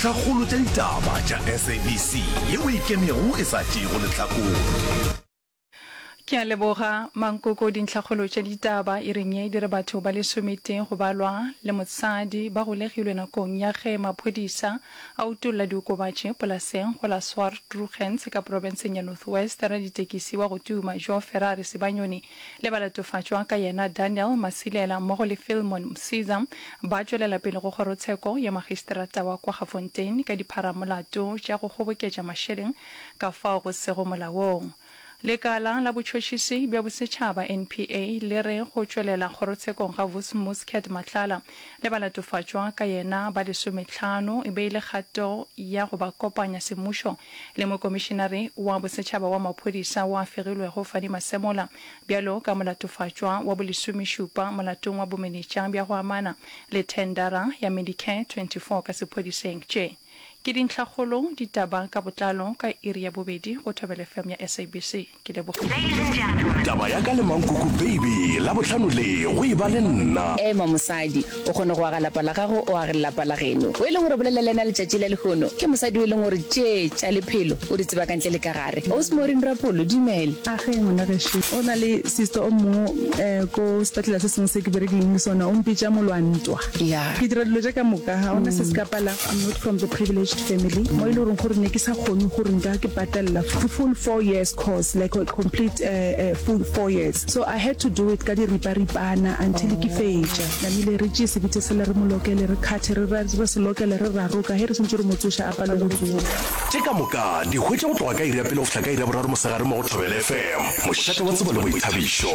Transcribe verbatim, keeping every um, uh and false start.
Dintlhakgolo tša ditaba tša S A B C yeo e ikemego e sa tšeego lehlakore. Ke a leboga, Mankoko. Dintlhakgolo tša ditaba e reng ye di re batho ba lesometee go balwa le mosadi ba golegilwe nakong ya ge maphodisa a utolla diokobatši polaseng go la Swartruggens ka profenseng ya North West. Raditekisi wa go tuma Joe Ferrari Sibanyoni le balatofatšwa ka yena Daniel Masilela mmogo le Philemon Msiza ba tšwelela pele go kgorotsheko ya magistrata wa Kwaggafontein ka dipharamolato tša go kgoboketša mašeleng ka fao go sego molaong. Lekala la Botšhotšhisi bja Bosetšhaba, N P A, le re go tšwelela kgorotshekong ga Vusimuzi Cat Matlala le balatofatšwa ka yena ba lesomehlano e be e le kgato ya go ba kopanya semmušo le Mokomišenare wa Bosetšhaba wa Maphodisa wo a fegilwego Fannie Masemola bjalo ka molatofatšwa wa bolesomešupa molatong wa bomenetša bja go amana le thendara ya Medicare twenty-four ka sephodiseng. Tše ke dintlhakgolo, ditaba ka botlalo ka iri ya bobedi go Thobela F M ya S A B C. Ke lebogile. Taba ya ka le Mankoko Baby Labohlano le go e ba le nna. Ema mosadi, o kgone go aga lapa la gago, o age lelapa la geno. O e leng gore bolela le yena letšatši la lehono ke mosadi o e leng gore tše tša lephelo o di tseba ka ntle le ka gare. Ausi Maureen Rapolo, dumela. A ge ngwana gešo o na le sister o mongwe um ko sepetlele se sengwe se ke berekileng le sona, o mpitša molwantwa. Ya. Ke dira dilo tše ka moka, ga gona se se ka palago. I'm not from the privileged family mo e le goreng gore ne ke sa kgone gore nka ke patella full four years course, like a complete uh, uh, full four years, so I had to do it ka diriparipana until ke fetša. Namile re tšee sebitse sela, re mo lokele, re kgathe, re re se lokele, re raroka ge re santse re mo tsoša, a pale go tsoga. Tše ka moka di hwetša go tloga ka iri ya pele go fihla ka iri ya boraro mosegare mo go Thobela F M, mošate wa tsebo le boithabišo.